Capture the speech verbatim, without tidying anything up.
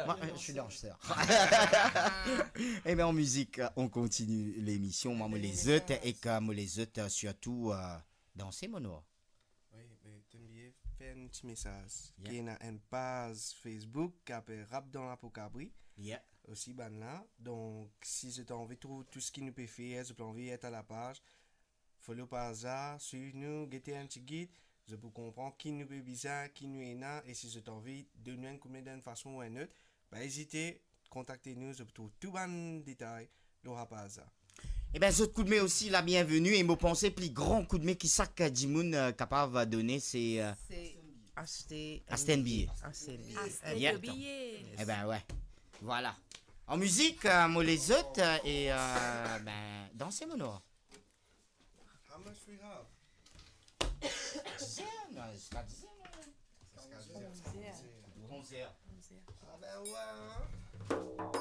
Moi, je suis danseur. Eh bien, en musique, euh, on continue l'émission. Moi, moi, les autres, et que moi, les autres, euh, surtout, euh, danser, mon noir. Wi, me to bliye fer enn ti mesaz. Yeah. Ki ena enn paz Facebook ki apel Rap dan Lapo Kabri. Yeah. Osi bann la. Donk, si zot anvi trouv tou seki nou pe fer, zot anvi et a lapaz, follow paz la, swiv nou, gete enn ti gid, zot pou konpran ki nou pe bizin, ki nou ena, e si zot anvi donn nou enn koudme dan enn fason ou enn lot, pa ezite, kontakte nou, zot pou trouv tou bann detay lor lapaz la. Ebin, zot koudme osi la bienveni, e mo panse pli gran koudme ki sak dimoun, euh, kapav done, se, euh, Se aste aste enn biye. Aste enn biye. Aste Yeah. enn biye. Ebin, ouais. Voilà. En musique, euh, mo les autres, euh, et, euh, ben, danser, mon noir. How much we have? Dix heures, non, jusqu'à dix heures, non? Jusqu'à dix heures. Onze heures. Onze heures. Onze heures. Ah ben ouais, hein.